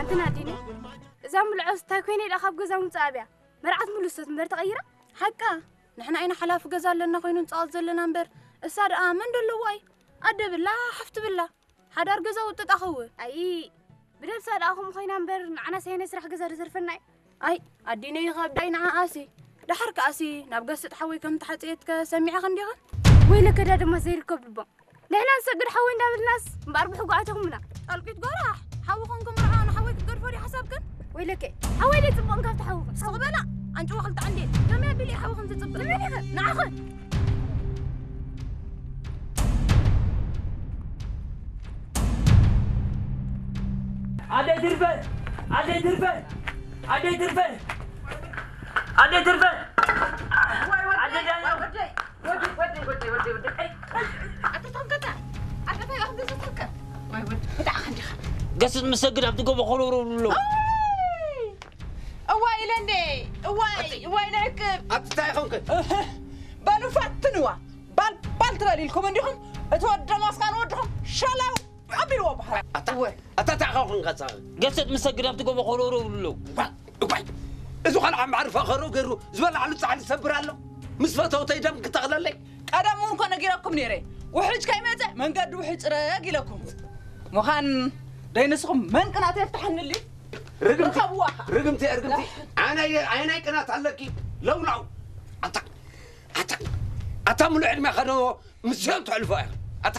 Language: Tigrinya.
እንትን ኣዲነ እዛ ምልዖስ እንታይ ኮይነ ኢላ ካብ ገዛ ምውፅእ ኣብያ መርዓት ምሉሶት እምበር ተቐይራ። ሓቃ ንሕና ኢና ሓላፊ ገዛ ኣለና ኮይኑ ንፃወት ዘለና እምበር እሳ ደኣ መን ደለዎ ኣይ ኣደ ብላ ሓፍቲ ብላ ሓዳር ገዛ ውጥጥ ኣኸው። ኣይ ብደብሳ ደኣ ከምኡ ኮይና እምበር ንዓና ሰየነ ስራሕ ገዛ ደዘርፈና እዩ። ኣይ ኣዲነ ይኸብዳይ ንዓኣሲ ደሓር ከኣሲ ናብ ገስጥ ሓወይ ከም ተሓፀየትከ ሰሚዕኸ እንዲኸ? ወይለከ ዳ ድማ ዘይርከብ ልቦም ንሕና ንሰግድ ሓወይ እንዳበልናስ እምበኣር ብሕጉ ኣተኹምና። ኣልቂት ጎራሕ ሓዊ ኮንኩም ርዓ ንሓወይ ክትገድፎ ድዩ ሓሳብክን? ወይለከ ሓወይ ደይ ፅቡቕን ካብቲ ሓውኽን። ስቕ በላ ኣንጭዋ ክልተ ዓንዴ ከመይ ኣቢለ ሓዊ ከም ዝፅብቕ ንመን ኢኸ? ንዓኸ ኣደይ ትርፈ ኣደይ ትርፈ ኣደይ ትርፈ ኣደይ ትርፈ ኣደይ ዳኛው ገስጥ ምሰግድ ኣብቲ ጎቦ ኮለውረው ብሎ እዋይ ኢለ እንዴ እዋይ እዋይ ነርክብ ኣብቲ እንታይ ይኸውን ከ በሉ ፈትንዋ ባል ባል ትበል ኢልኩም እንዲኹም እቲ ወዲ ደማስካ ንወድኹም ሸላው ኣቢልዎ በሃር ኣታ ኣታ እንታይ ኸውን ከሳ ገሰጥ ምሰግድ ኣብቲ ጎቦ ኮለውረው ብሎ እኳይ እዚ ኳል ዓምባር ፈኸሮ ገሩ ዝበላዕሉ ጻዕሊ ሰብር ኣሎ ምስ ፈተውተይ ደም ክተኽለለይ ቀደም እውን እኮ ነጊረኩም ነይረ ውሕጅ ከይመፀ መንገዲ ውሕጅ ፅረግ ኢለኩም ምዃን ደይንስኹም መን ቅናተ የፍትሐንልዩ ርግምቲ ርግምቲ ርግምቲ ኣናይ ኣናይ ቅናት ኣለኪ ለውላው ኣታ ኣታ ኣታ ሙሉ ዕድሜ ከዶ ምስኦም ትሕልፎ እያ